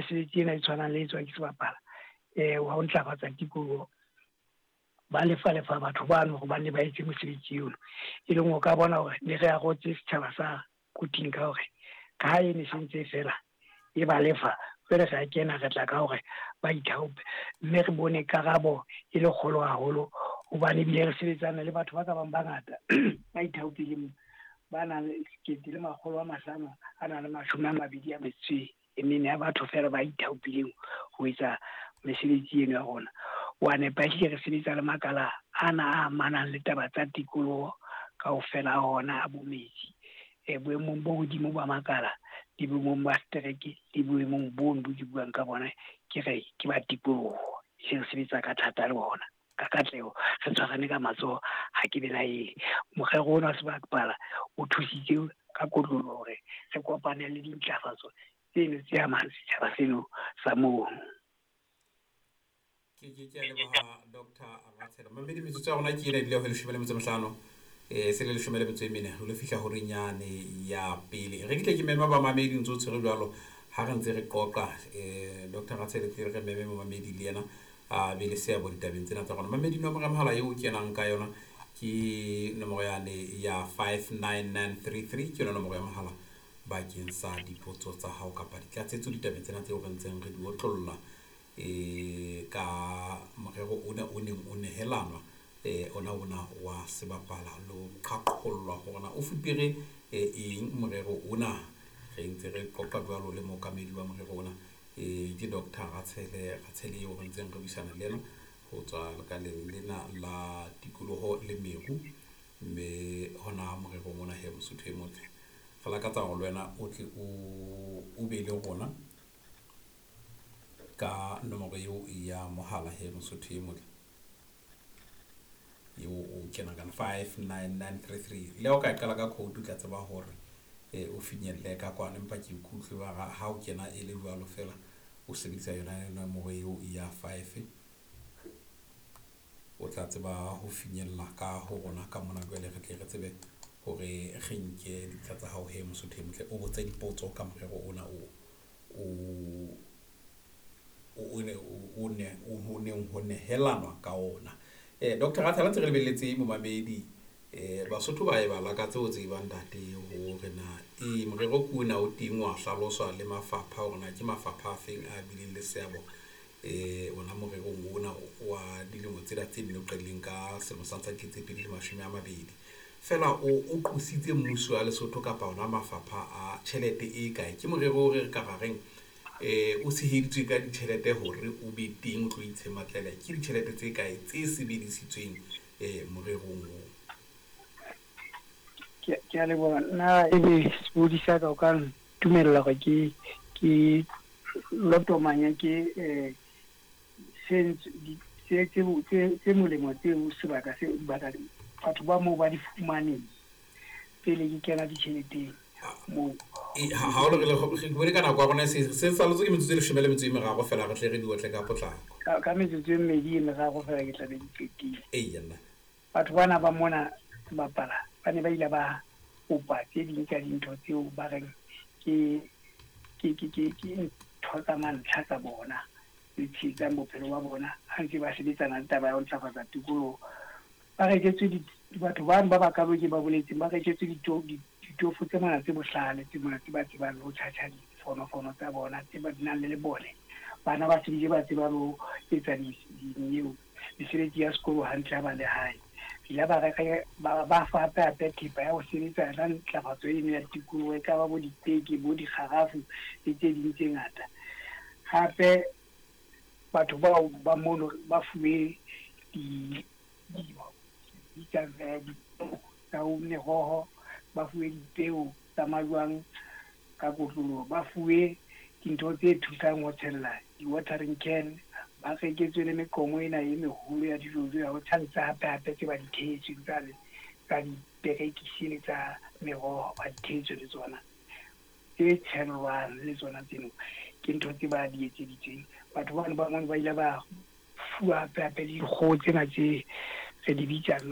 Mesebetsi ena e tshwanang le e tswang ke sebapala wa ho ntlafatsa tikoloho, ba lefa lefa batho bano hore ba nne ba etse mosebetsi ono. E leng o ka bona hore ne re arotse setjhaba sa Quthing ka hore ka ha e ne sentse fela e ba lefa, jwale re a kena re tla ka hore ba ithaope, mme re bone karabo e le kgolo haholo, hobane ebile re sebetsana le batho ba ka bang bangata ba ithaopileng, ba nang le 1524 ya batho fela ba ithaopileng ho etsa mesebetsi eno ya rona. Wa nepa, ehlile re sebetsa le makala ana a amanang le taba tsa tikoloho kaofela a ona a bo metsi, boemong bo hodimo ba makala le boemong ba setereke le boemong bono bo ke buang ka bona, ke re ke ba tikoloho. Ehlile re sebetsa ka thata le bona ka katleho, re tshwarane ka matsoho, ha ke belaele. Morero ona wa sebapala o thusitse ka kotloloho hore re kopane le dintlafatso tseno tse amang setjhaba seno sa mono. Ke a leboha Dr. Ratshele. Mamedi, metsotso ya rona ke ena ebile ho 15, se le 14, re lo fihla horeng yane ya pele. Re ke tle ke mema bamamedi ntse o tshwere jwalo ha re ntse re qoqa. Dr. Ratshele tle re meme momamedi le yena a be le seabo ditabeng tsena tsa rona. Mamedi, nomoro ya mohala eo o kenang ka yona ke nomoro yane ya 59933, ke yona nomoro ya mohala bakeng sa dipotso tsa hao kapa ditlatsetso ditabeng tsena tseo re ntseng re di otlolla ka morero ona o neng o nehelanwa ona ona wa sebapala lo qhaqhollwa hore na o fupere eng morero ona. Re ntse re qoqa jwalo le mookamedi wa morero ona, ke Dr. Ratshele Ratshele eo re ntseng re buisana le yena ho tswa lekaleng lena la tikoloho le meru, mme hona morerong ona he Mosotho e motle, re lakatsa hore le wena o tle o be le rona ka nomoro eo ya mohala he Mosotho e motle eo o kenang ka 59933. Le ha o ka qala ka code o tla tseba hore o finyelle ka kwana, empa ke ikutlwe ba ha o kena e le jwalo fela o sebedisa yona nomoro eo ya 5, o tla tseba ho finyella ka ho rona ka mona. Jwale re tle re tsebe hore re nke dintlha tsa hao he Mosotho e motle, o botse dipotso ka morero ona o neng ho nehelanwa ka ona. Dr. Ratshele, ntse re lebelletse momamedi, Basotho ba e ba lakatse ho tseba ntate hore na morero ke ona o teng wa hlaloswa le mafapha hore na ke mafapha a feng a bileng le seabo ona morerong ona wa dilemo tsena tse nne o qadileng ka selemo sa 2020. Fela o qositse mmuso wa Lesotho kapa ona mafapha a tjhelete e kae? Ke morero o re ka ra reng o tsheheditswe ka ditjhelete hore o be teng o tlo itshematlela. Ke ditjhelete tse kae tse sebedisitsweng morerong oo? Ke a leboha. Nna ebe sebodi sa ka o ka ntumella hore ke lotomanya ke tse molemo tseo sebaka se batho ba moo ba di fumaneng pele ke kena ditjheleteng moo. Ha o re bone ka nako ya rona se salotse ke metsotso e 13 fela, re tle re di otle ka potlako. Ka metsotso e mmedi e meraro fela ke tla be di qetile. Eya nna. Batho bana ba mona sebapala ba ne ba ile ba kopa tse ding tsa dintho tseo ba reng ke ntho tsa mantlha tsa bona tse tshehetsang bophelo ba bona ha ntse ba sebetsana le taba ya ho ntlafatsa tikoloho. Ba reketswe batho bano ba bakalo ke ba boletseng, ba reketswe ditofo tse mona tse bohlale, tse mona tse ba tsebang le ho tjhatjha difonofono tsa bona, tse ba nang le lebone. Bana ba se bile ba tseba le ho etsa dineo mesebetsi ya sekolo hantle ha ba le hae. Ile ba reka ba fa hape hape thepa ya ho sebetsa ka ntlafatso eno ya tikoloho, e ka ba bo dipeke, bo dikgarafu le tse ding tse ngata. Hape batho bao ba mono ba fuwe dipeo tsa meroho, ba fuwe dipeo tsa majwang ka kotloloho, ba fuwe dintho tse thusang ho tshella di-watering can, ba reketswe le meqomo ena e meholo ya dijojo ya ho tshantsa hape hape tse ba di thehetsweng tsa diperekisi le tsa meroho, ba di thehetswe le tsona tse tshellwang le tsona tseno ke ntho tse ba di etseditsweng. Batho bano ba mono ba ile ba fuwa hape hape le dikgoho tsena tse re di bitsang